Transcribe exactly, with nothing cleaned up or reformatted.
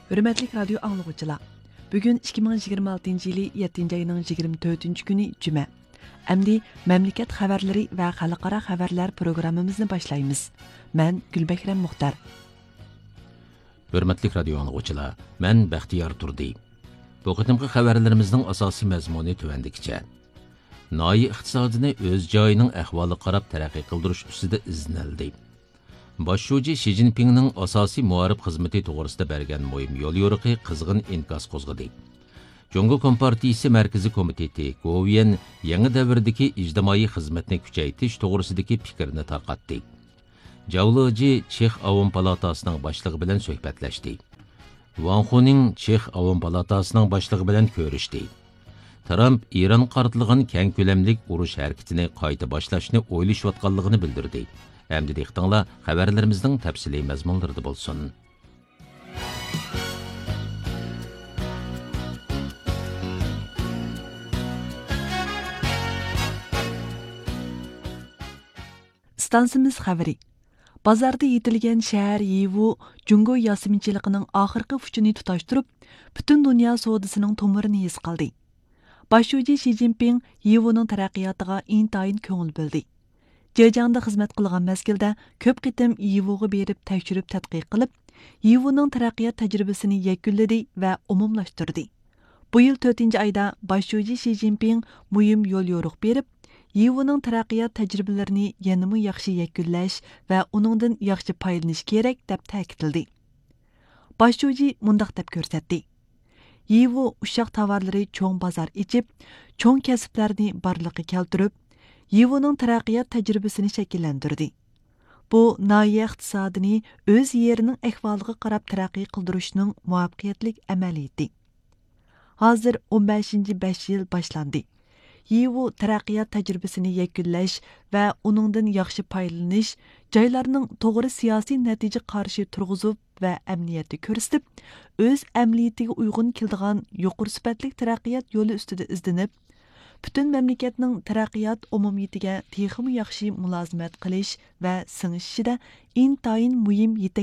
ھۆرمەتلىك رادىيو ئاڭلىغۇچىلار، بۈگۈن ئىككى مىڭ يىگىرمە ئالتىنچى يىلى يەتتىنچى ئاينىڭ يىگىرمە تۆتىنچى كۈنى جۈمە. ئەمدى مەملىكەت خەۋەرلىرى ۋە خەلقئارا خەۋەرلەر پروگراممىمىزنى باشلايمىز. مەن گۈلبەھرەم مۇختار. ھۆرمەتلىك رادىيو ئاڭلىغۇچىلار، مەن بەختىيار تۇردى. بۇ قېتىمقى خەۋەرلىرىمىزنىڭ ئاساسىي مەزمۇنى تۆۋەندىكىچە. ناھىيە ئىقتىسادىنى ئۆز جايىنىڭ ئەھۋالىغا قاراپ تەرەققىي قىلدۇرۇش ئۈستىدە ئىزدىنىلدى. باش شۇجى شى جىنپىڭنىڭ ئاساسىي مۇئارىپ خىزمىتى توغرىسىدا بەرگەن مۇھىم يوليورۇقى قىزغىن ئىنكاس قوزغىدى. جۇڭگو كومپارتىيىسى مەركىزىي كومىتېتى گوۋۇيۈەن يېڭى دەۋردىكى ئىجتىمائىي خىزمەتنى كۈچەيتىش توغرىسىدىكى پىكىرنى تارقاتتى. جاۋ لېجى چېخ ئاۋام پالاتاسىنىڭ باشلىقى بىلەن سۆھبەتلەشتى. ۋاڭ خۇنىڭ چېخ ئاۋام پالاتاسىنىڭ باشلىقى بىلەن كۆرۈشتى. ترامپ ئىرانغا قارىتىلغان كەڭ كۆلەملىك ئۇرۇش ھەرىكىتىنى قايتا باشلاشنى ئويلىشىۋاتقانلىقىنى بىلدۈردى. ئەمدى دىققىتىڭلار خەۋەرلىرىمىزنىڭ تەپسىلىي مەزمۇنلىرىدا بولسۇن. ئىستانسىمىز خەۋىرى. بازاردا يېتىلگەن شەھەر يىۋۇ جۇڭگو ياسىمىنچىلىقىنىڭ ئاخىرقى ئۇچىنى تۇتاشتۇرۇپ، پۈتۈن دۇنيا سودىسىنىڭ تومۇرىنى ھېس قىلدى. باش شۇجى شى جىنپىڭ يىۋۇنىڭ تەرەققىياتىغا ئىنتايىن كۆڭۈل بۆلدى. جېجياڭدا خىزمەت قىلغان مەزگىلدە كۆپ قېتىم يىۋۇغا بېرىپ تەكشۈرۈپ تەتقىق قىلىپ، يىۋۇنىڭ تەرەققىيات تەجرىبىسىنى يەكۈنلىدى ۋە ئومۇملاشتۇردى. بۇ يىل تۆتىنچى ئايدا باش شۇجى شى جىنپىڭ مۇھىم يوليورۇق بېرىپ، يىۋۇنىڭ تەرەققىيات تەجرىبىلىرىنى يەنىمۇ ياخشى يەكۈنلەش ۋە ئۇنىڭدىن ياخشى پايدىلىنىش كېرەك، دەپ تەكىتلىدى. باش شۇجى مۇنداق دەپ كۆرسەتتى: يىۋۇ ئۇششاق تاۋارلىرى چوڭ بازار ئېچىپ، چوڭ كەسىپلەرنى بارلىققا كەلتۈرۈپ، يىۋۇنىڭ تەرەققىيات تەجرىبىسىنى شەكىللەندۈردى. بۇ ناھىيە ئىقتىسادىنى ئۆز يېرىنىڭ ئەھۋالىغا قاراپ تەرەققىي قىلدۇرۇشنىڭ مۇۋەپپەقىيەتلىك ئەمەلىيىتى. ھازىر ئون بەشىنچى بەش يىل باشلاندى. يىۋۇ تەرەققىيات تەجرىبىسىنى يەكۈنلەش ۋە ئۇنىڭدىن ياخشى پايدىلىنىش، جايلارنىڭ توغرا سىياسىي نەتىجە قارىشى تۇرغۇزۇپ ۋە ئەمەلىيەتتە كۆرسىتىپ، ئۆز ئەمەلىيىتىگە ئۇيغۇن كېلىدىغان يۇقىرى سۈپەتلىك تەرەققىيات يولى ئۈستىدە ئىزدىنىپ، پۈتۈن مەملىكەتنىڭ تەرەققىيات ئومۇمىيىتىگە تېخىمۇ ياخشى مۇلازىمەت قىلىش ۋە سىڭىشىشىدە ئىنتايىن مۇھىم يېتەك